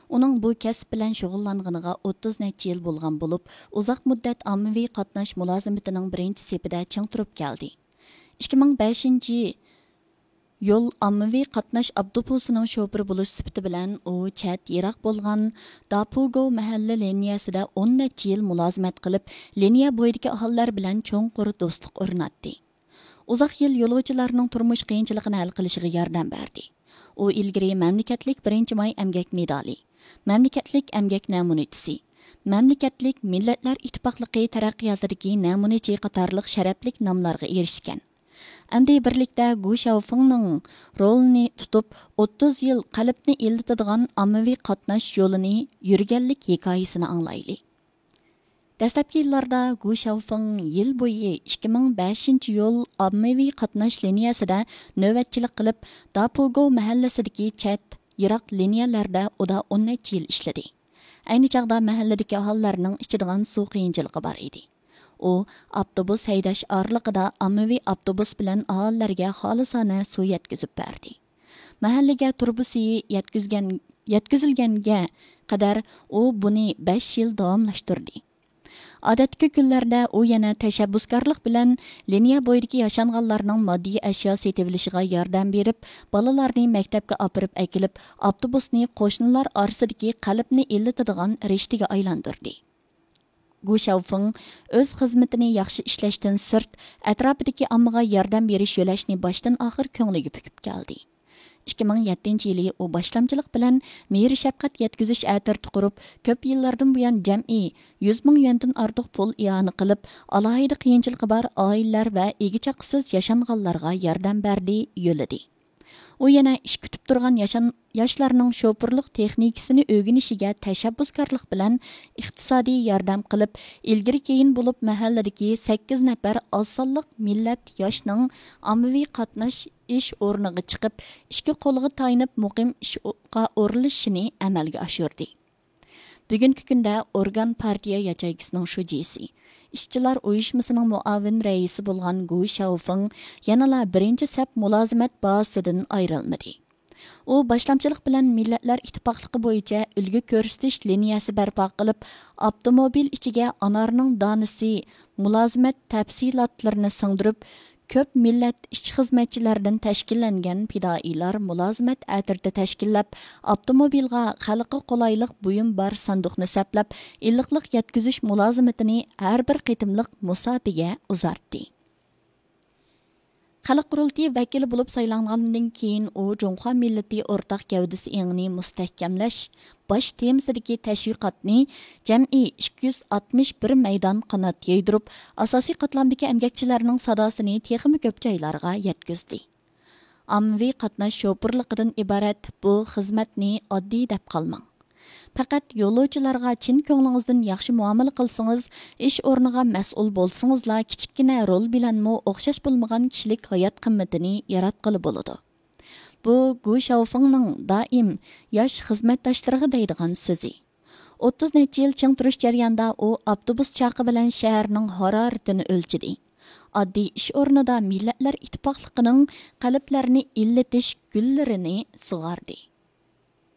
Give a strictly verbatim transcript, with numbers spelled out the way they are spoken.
ئۇنىڭ بۇ كەسىپ بىلەن شۇغۇللانغىنىغا ئوتتۇز نەچچە يىل بولغان بولۇپ، ئۇزاق مۇددەت ئاممىۋى قاتناش مۇلازىمىتىنىڭ بىرىنچى سېپىدە چىڭ تۇرۇپ كەلدى. ئىككى مىڭ بەشىنچى يول ئاممىۋى قاتناش ئاپتوبۇسىنىڭ شوپۇرى بولۇش سۈپىتى بىلەن ئۇ چەت، يىراق بولغان داپۇگو مەھەللە لىنىيەسىدە ئون نەچچە يىل مۇلازىمەت قىلىپ، لىنىيە بويىدىكى ئاھالىلەر بىلەن چوڭقۇر دوستلۇق ئورناتتى. ئۇزاق يىل يولۇچىلارنىڭ تۇرمۇش قىيىنچىلىقىنى ھەل قىلىشىغا ياردەم بەردى. ئۇ ئىلگىرى مەملىكەتلىك بىرىنچى ماي ئەمگەك مېدالى، مەملىكەتلىك ئەمگەك نەمۇنىچىسى، مەملىكەتلىك مىللەتلەر ئىتتىپاقلىقى تەرەققىياتىدىكى نەمۇنىچى قاتارلىق شەرەپلىك ناملارغا ئېرىشكەن. ئەمدى بىرلىكتە گۇ شياۋفېڭنىڭ رولىنى تۇتۇپ، ئوتتۇز يىل قەلبنى ئىللىتىدىغان ئاممىۋى قاتناش يولىنى يۈرگەنلىك ھېكايىسىنى ئاڭلايلى. دەسلەپكى يىللاردا گۇ شياۋفېڭ يىل بويى ئىككى مىڭ بەشىنچى يول ئاممىۋى قاتناش لىنىيەسىدە نۆۋەتچىلىك قىلىپ، داپۇگو مەھەللىسىدىكى چەت، يىراق لىنىيەلەردە ئۇدا ئون نەچچە يىل ئىشلىدى. ئەينى چاغدا مەھەللىدىكى ئاھالىلەرنىڭ ئىچىدىغان سۇ قىيىنچىلىقى بار ئىدى. ئۇ ئاپتوبۇس ھەيدەش ئارىلىقىدا ئاممىۋى ئاپتوبۇس بىلەن ئاھالىلەرگە خالىسانە سۇ يەتكۈزۈپ بەردى. مەھەللىگە تۇرۇبا سۈيى يەتكۈزگەن، يەتكۈزۈلگەنگە قەدەر ئۇ بۇنى بەش يىل داۋاملاشتۇردى. ئادەتتىكى كۈنلەردە ئۇ يەنە تەشەببۇسكارلىق بىلەن لىنىيە بويىدىكى ياشانغانلارنىڭ ماددىي ئەشيا سېتىۋېلىشىغا ياردەم بېرىپ، بالىلارنى مەكتەپكە ئاپىرىپ ئەكېلىپ، ئاپتوبۇسنى قوشنىلار ئارىسىدىكى قەلبنى ئىللىتىدىغان رىشتىگە ئايلاندۇردى. گۇ شياۋفېڭ ئۆز خىزمىتىنى ياخشى ئىشلەشتىن سىرت، ئەتراپىدىكى ئاممىغا ياردەم بېرىش يۆلەشنى باشتىن ئاخىر كۆڭلىگە پۈكۈپ كەلدى. ئىككى مىڭ يەتتىنچى يىلى ئۇ باشلامچىلىق بىلەن مېھىر شەپقەت يەتكۈزۈش ئەترىتى قۇرۇپ، كۆپ يىللاردىن بۇيان جەمئىي يۈز مىڭ يۈەندىن ئارتۇق پۇل ئىئانە قىلىپ، ئالاھىدە قىيىنچىلىقى بار ئائىلىلەر ۋە ئىگە چاقىسىز ياشانغانلارغا ياردەم بەردى، يۆلىدى. ئۇ يەنە ئىش كۈتۈپ تۇرغان ياشان-، ياشلارنىڭ شوپۇرلۇق تېخنىكىسىنى ئۆگىنىشىگە تەشەببۇسكارلىق بىلەن ئىقتىسادىي ياردەم قىلىپ، ئىلگىرى كېيىن بولۇپ مەھەللىدىكى سەككىز نەپەر ئاز سانلىق مىللەت ياشنىڭ ئاممىۋى قاتناش ئىش ئورنىغا چىقىپ، ئىككى قولىغا تايىنىپ مۇقىم ئىشقا ئورۇنلىشىشىنى ئەمەلگە ئاشۇردى. بۈگۈنكى كۈندە ئورگان پارتىيە ياچېيكىسىنىڭ شۇجىسى، ئىشچىلار ئۇيۇشمىسىنىڭ مۇئاۋىن رەئىسى بولغان گۇ شياۋفېڭ يەنىلا بىرىنچى سەپ مۇلازىمەت بازىسىدىن ئايرىلمىدى. ئۇ باشلامچىلىق بىلەن مىللەتلەر ئىتتىپاقلىقى بويىچە ئۈلگە كۆرسىتىش لىنىيەسى بەرپا قىلىپ، ئاپتوموبىل ئىچىگە ئانارنىڭ دانىسى، مۇلازىمەت تەپسىلاتلىرىنى سىڭدۈرۈپ، كۆپ مىللەت ئىشچى خىزمەتچىلەردىن تەشكىللەنگەن پىدائىيلار مۇلازىمەت ئەترىتى تەشكىللەپ، ئاپتوموبىلغا خەلققە قولايلىق بۇيۇم بار ساندۇقنى سەپلەپ، ئىللىقلىق يەتكۈزۈش مۇلازىمىتىنى ھەر بىر قېتىملىق مۇساپىگە ئۇزارتتى. خەلق قۇرۇلتىيى ۋەكىلى بولۇپ سايلانغاندىن كېيىن، ئۇ جۇڭخۇا مىللىتى ئورتاق گەۋدىسى ئېڭىنى مۇستەھكەملەش باش تېمىسىدىكى تەشۋىقاتنى جەمئىي ئىككى يۈز ئاتمىش بىر مەيدان قانات يايدۇرۇپ، ئاساسىي قاتلامدىكى ئەمگەكچىلەرنىڭ ساداسىنى تېخىمۇ كۆپ جايلارغا يەتكۈزدى. ئاممىۋى قاتناش شوپۇرلۇقىدىن ئىبارەت بۇ خىزمەتنى ئاددىي دەپ قالماڭ. پەقەت يولۇچىلارغا چىن كۆڭلىڭىزدىن ياخشى مۇئامىلە قىلسىڭىز، ئىش ئورنىغا مەسئۇل بولسىڭىزلا، كىچىككىنە رول بىلەنمۇ ئوخشاش بولمىغان كىشىلىك ھايات قىممىتىنى ياراتقىلى بولىدۇ. بۇ گۇ شياۋفېڭنىڭ دائىم ياش خىزمەتداشلىرىغا دەيدىغان سۆزى. ئوتتۇز نەچچە يىل چىڭ تۇرۇش جەريانىدا ئۇ ئاپتوبۇس چاقى بىلەن شەھەرنىڭ ھارارىتىنى ئۆلچىدى. ئاددىي ئىش ئورنىدا مىللەتلەر ئىتتىپاقلىقىنىڭ قەلبلەرنى ئىللىتىش گۈللىرىنى سۇغاردى.